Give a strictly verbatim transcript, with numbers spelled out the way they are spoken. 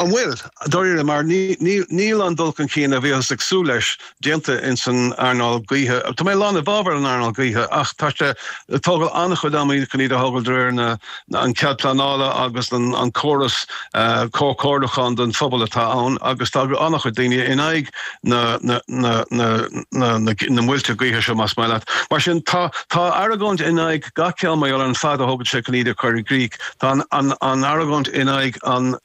An bhfuil dáiríre mar níl an dul chun cinn a bhíothas ag súil leis déanta in san earnáil gaoithe. Tá mé lán i bhfabhar an earnáil gaoithe ach tá sé ag tógáil an-chuid ama chun iad a thógáil de réir na an cead pleanála agus an an córas uh, comhairliúcháin don phobal atá ann agus tá an-chuid daoine in aghaidh na na na na na na, na muilte gaoithe seo más maith leat. Mar sin tá tá argóint in aghaidh gach ceann mar an fad a thógann sé chun iad a chur i gcrích. Tá an, an, an argóint in aghaidh an